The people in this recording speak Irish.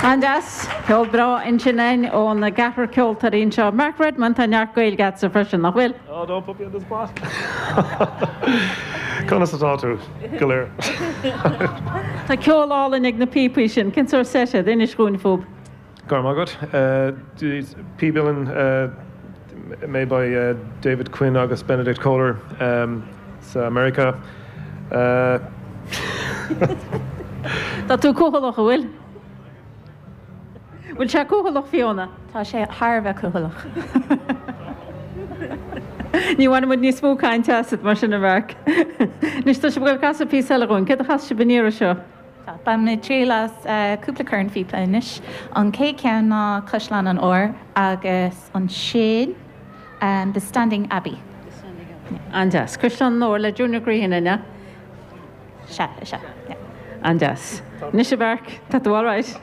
An-deas. Ceol breá ansin againn ón gceathrar ceoltóirí anseo. Mark Redmond, tá neart Gaeilge agatsa freisin, nach bhfuil? Oh, don't put me on the spot! Conas atá tú go léir? Tá ceol álainn ag na píopaí sin. Cén sórt seit iad? Inis dhúinn fúthu. Go raibh maith agat. Píb uilleann made by David Quinn agus Benedict Koehler sa Meiriceá. Tá tú cúthaileach, an bhfuil? Bhfuil sé cúthaileach, Fiona? Tá sé thar a bheith cúthaileach. Ní bhainfidh muid níos mó cainte asat mar sin, a Mhark. Anois, tá sibh ag dul a chasadh píosa eile dhúinn. Céard a chasfaidh sibh an iarraidh seo? Tá. Bainfidh muid triail as cúpla cornphíopa anois. An chéad cheann ná Caisleán an Óir agus ansin The Standing Abbey. The Standing Abbey. An-deas. Caisleán an Óir le Junior Grehan, an ea? Sea, is ea. Yeah. An-deas. Anois a Mhark, tá tú alright?